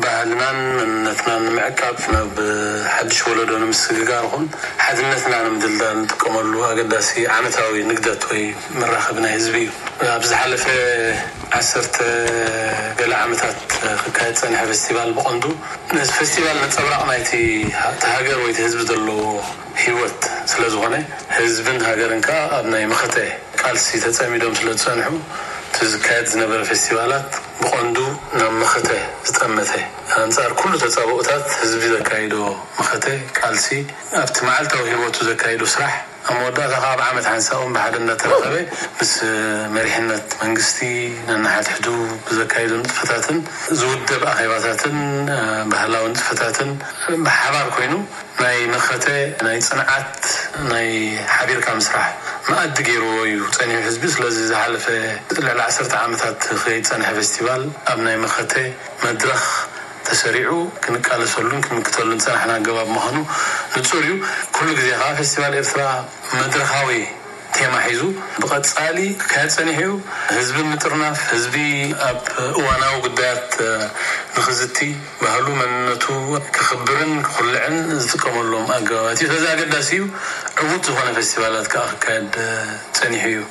ባህልናን መንነትናን ንምዕቃብ፣ ናብ ሓድሽ ወለዶ ንምስግጋር ኹን ሓድነትና ንምድልዳል ንጥቀመሉ ኣገዳሲ ዓመታዊ ንግደት ወይ መራኸቢ ናይ ህዝቢ እዩ። ኣብ ዝሓለፈ ዓሰርተ ገለ ዓመታት ክካየድ ጸኒሐ ፌስቲቫል ብቐንዱ ነዚ ፌስቲቫል ነጸብራቕ ናይቲ እቲ ሃገር ወይ እቲ ህዝቢ ዘለዎ ህይወት ስለ ዝኾነ፣ ህዝብን ሃገርን ከኣ ኣብ ናይ መኸተ ቃልሲ ተጸሚዶም ስለ ዝጸንሑ፣ እቲ ዝካየድ ዝነበረ ፌስቲቫላት ብቐንዱ ናብ መኸተ ዝጠመተ፣ ኣንጻር ኩሉ ተጻብኦታት ህዝቢ ዘካይዶ መኸተ ቃልሲ፣ ኣብቲ መዓልታዊ ህይወቱ ዘካይዶ ስራሕ፣ ኣብ መወዳእታ ከኣ ኣብ ዓመት ሓንሳእ እውን ብሓደ እናተራኸበ ምስ መሪሕነት መንግስቲ ነንሓድሕዱ ብዘካይዶ ንጥፈታትን ዝውደብ ኣኼባታትን፣ እ፣ ባህላዊ ንጥፈታትን ብሓባር ኮይኑ ናይ መኸተ፣ ናይ ጽንዓት፣ ናይ ሓቢርካ ምስራሕ መኣዲ ገይርዎ እዩ ጸኒሑ ህዝቢ። ስለዚ ዝሓለፈ ልዕሊ ዓሰርተ ዓመታት ክኸይድ ጸንሐ ፌስቲቫል ኣብ ናይ መኸተ መድረኽ ተሰሪዑ ክንቃለሰሉን ክንምክተሉን ዝጸናሕና ኣገባብ ምዃኑ ንጹር እዩ። ኩሉ ግዜ ከኣ ፌስቲቫል ኤርትራ መድረኻዊ ቴማ ሒዙ ብቐጻሊ ክካየድ ጸኒሑ እዩ። ህዝቢ ምጥርናፍ፣ ህዝቢ ኣብ እዋናዊ ጉዳያት፣ እ፣ ንኽዝቲ፣ ባህሉ መንነቱ ክኽብርን ክኹልዕን ዝጥቀመሎም ኣገባባት እዩ። ስለዚ ኣገዳሲ እዩ። ዕዉት ዝኾነ ፌስቲቫላት ከኣ ክካየድ፣ እ፣ ጸኒሑ እዩ።